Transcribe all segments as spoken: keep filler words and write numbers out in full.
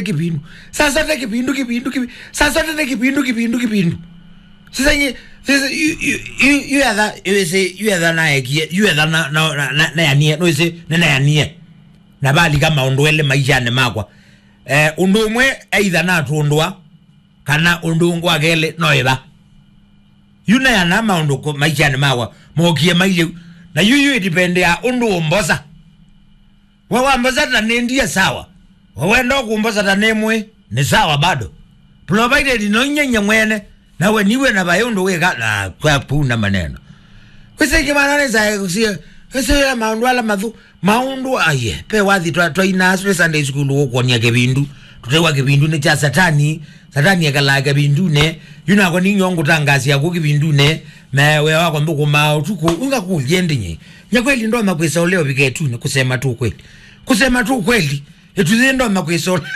kĩvindu. Saa zote kĩvindu, kĩvindu, kĩvindu. Saa zote nĩ kĩvindu, kĩvindu, kĩvindu. Sasa nye, sasa yu, yu, yu, yu etha, yu ese, yu etha naekie, yu etha na, na, na, na, nayanie, no ese, nĩ nayanie. Na valika maũndũ elĩ maishanĩ makwa. Eh, ũndũ ũmwe either natũndũa, kana ũndũ ũngĩ wa kelĩ no ĩva. Yu nayana maũndũ kũ-, maishanĩ makwa, mokie mailye u. Na yu, yu ĩdipendeaa ũndũ ũmbosa. We wambosa ta nĩ ndie sawa. We wenda kũmbosa ta nĩ mwĩ, nĩ sawa bado. Provided no inyenye mwene, na we niwe na vaĩ ũndũ wĩka, na kwa puna maneno. Kwĩsĩ kĩmana nĩ sae, sie, kwĩsĩ ya maũndũ ala mathu, maũndũ aye. Pe wathi twa, twa ina Sunday school ũkuonia kĩvindu. Tũtewa kĩvindu nĩ cha satani, satani ekalaa kĩvindunĩ. Yu nako ninyo ngũtangasia kũ kĩvindunĩ. Me we wako ndũkũmaa ũtukũ, ũngakũlye ndinyi. Nya kweli ndoma kwĩsa ũleo viketuni, kusema tu kweli. Kusema tu kweli, ĩtuthĩ ndoma kwĩsa ũle.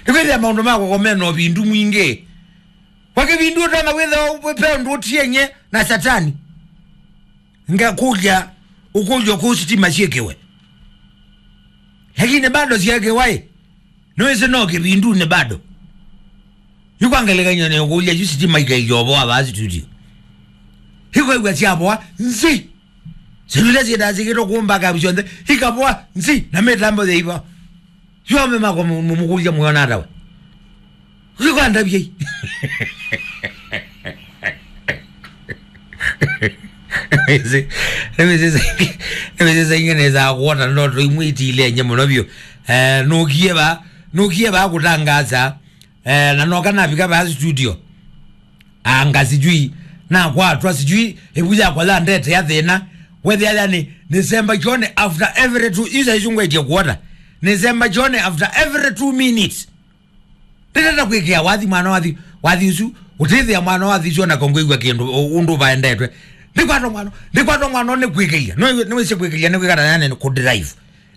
Nĩkwĩthĩa maũndũ makwa komena ũvindu mwingĩ. Kwa kĩvindu ũtona wĩtha pe ũndũ ũtienye na satani. Ngakũlya, ũkũlyo kũ sitima syĩkĩwe. Lakini bado syĩkĩwa ĩ. Nĩwĩsĩ no kĩvindunĩ bado. Yu kwa ngelekany'o nĩũkũlya yu sitima ikailya ũvoa vaa studio. Ikwĩw'a syavoa nzi. Syĩndũ ila syĩtaa syĩkĩtwe kũmba kavu syonthe, ikavoa nzi na mĩtambo yĩiva. Yu aume makwa mũ-, mũ-, mũkũlya mwĩona ata we? Ũkikwanda vyai. Nĩwĩsĩ, nĩwĩsĩ saingĩ, nĩwĩsĩ saingĩ nĩsaa kuota ndoto imwe itilenye mũno vyũ. Eh, nũkie va, nũkie va kũtangaza. Eh, na noka navika vaa studio. Anga sijui, nakwatwa sijui, ĩvu yakwa yandete ya thĩna. Wethĩa yani, nĩsemba kyone after every two, isa isu ngwĩtie kuota. Nĩsemba kyone after every two minutes. Ndĩtata kwĩkĩa wathi mwana wathi, wathi ũsu, ũtĩthĩa mwana wathi ũsu ona kongwĩw'a kĩndũ, ũ-, ũndũ vaendetwe. Ndĩkwatwa mwana, ndĩkwatwa mwana nĩ kwĩkĩlya. Nĩ, nĩwĩsĩ kwĩkĩlya nĩ kwĩkata yani kũ drive.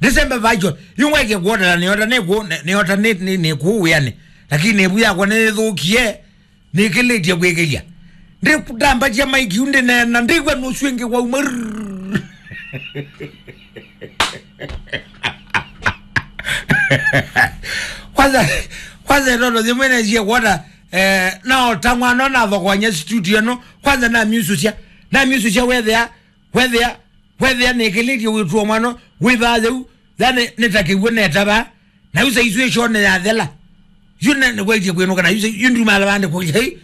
Ndĩsembe vacho, yu ngwĩtie kuota na nĩota nĩ kũ, nĩ, nĩota nĩ, nĩ, nĩ kũ wĩanĩ. Lakini ĩvu yakwa nĩthũkie. Nĩkĩlĩtye kwĩkĩlya. Ndĩtambatya maiki yu ndĩneena, ndĩw'a nũsu ĩngĩ wauma. Kwanza, kwanza ĩtoto yĩmwe nesie kuona, eh, naota mwana nathokoany'a studio ĩno. Kwanza namyususya. Namyususya wethĩa, wethĩa, wethĩa nĩkĩlĩtye wĩtũo mwana, wĩvaa yau, yani nĩtakĩw'o netava. Na yu saisu ĩshone yathela. Yu ne, nĩkwaitie kwĩnũka na yu sa-, yu ndumala vande kũlya. Hei,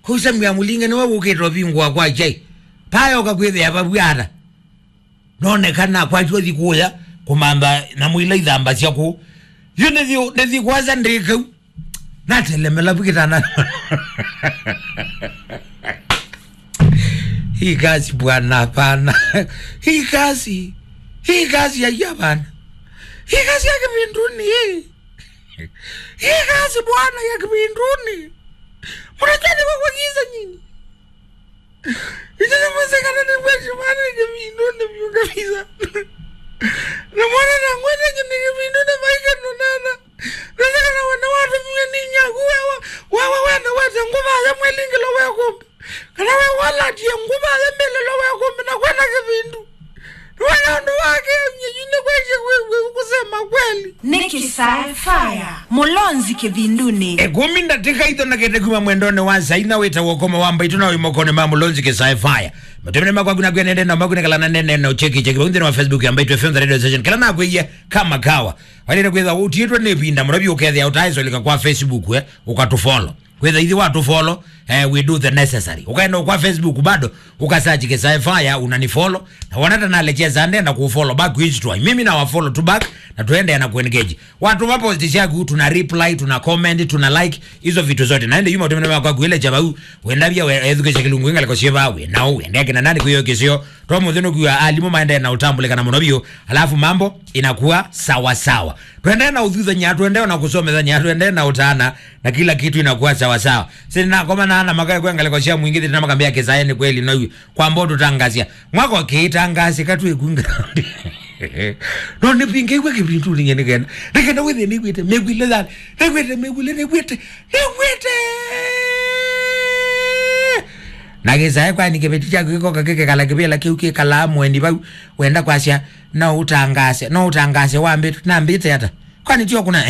kũu Samuel Mulinge nĩwe wũkĩte ũvingũa kwa chai. Payoka kwĩthĩa vavw'ata. Nonekana kwatyo thi kũya kũmantha na mũila ithambasya kũu. Yu nĩthi, nĩthi kwasa ndĩkau. Natelemela vikitana. Hii kazi bwana, hapana. Hii kazi, hii kazi ya, ya bana. Hii kazi ya kivinduni hii. Hii kazi bwana ya kivinduni. Mnajua ni kwa giza nyinyi. Ĩtene mũsekana nĩ kwesĩ mwana nĩ kĩvindũnĩ vyũ kabisa. Na mwana na ngwete nĩ kĩvindũnĩ maika nũnana. Nasekana wene watũmie nĩ nyaku wewa, wewa wene wete ngũva ya mwelingĩlo we kũmbe. Kana we walatie ngũva ya mbĩlĩlo we kũmbe na kwenda kĩvindu. Nĩwona ũndũ wake, mnyenyu nĩ kwesĩ kwĩ, kwĩ, kusema kweli. Nĩ Kĩsae Fire, Mũlonzi kĩvindunĩ. Ĩkũmi ndatĩka ithonekete kuma mwendonĩ wa saina wĩtawa ũkoma wa mbaitũ na wĩ mokonĩ ma Mũlonzi Kĩsae Fire. Matũmĩne makwa kuna kwĩa nende na makuna kala na nene na ucheki cheki. Nthĩnĩ wa Facebook ya Mbaitũ F M The Radio Station. Kala nakwĩie kama kawa. Walire kwĩtha ũtiĩtwe nĩ ĩvinda mũno vyũ ũkethĩa ũtaĩsolika kwa Facebook, eh, ũkatũfollow. Kwĩtha ithi watũfollow, eh, we do the necessary. Ũkaenda kwa Facebook bado, ukasearch Kĩsae Fire, unanifollow. Na wona ta nalecheza ndenda kufollow back, which to mimi na wafollow tu back, na tuende na kuengage. Watũma post syaku, tuna reply, tuna comment, tuna like, hizo vitu zote. Na ende yuma ũtũmĩne makwa kuilecha vau, wenda vya we, ethukĩsya kĩlungu ĩngalĩko syĩ vaa, we, nao, wende akina nani kwĩyo kĩsio, to mũthĩ nũkwĩwa alimũ maendee na ũtambũlĩkana mũno vyũ, alafu mambo inakuwa sawa sawa. Tũendee na ũthuthany'a, tũendee na kũsomethany'a, tũendee na ũtaana, na kila kitu inakuwa sawa sawa. Sina koma na ana makae kwa ngalĩko sya mwingĩ thĩna makambia Kĩsae nĩ kweli no yu. Kwamba ũtũtangasya. Mwako kĩtangasya katwĩ ku ground. No nĩpingĩiwe kĩvindu nĩnye nĩkenda. Nĩkenda wĩthĩ nĩwĩte mĩkwile thani. Nĩwĩte mĩkwile, nĩwĩte. Nĩwĩte. Na Kĩsae kwani kĩveti kyaku kĩkoka kĩkekala kĩvĩla kĩu kĩkalaa mweni vau. Wenda kwasya, no ũtangasye, no ũtangasye wambĩte, nambĩte ata? Kwani tio kuna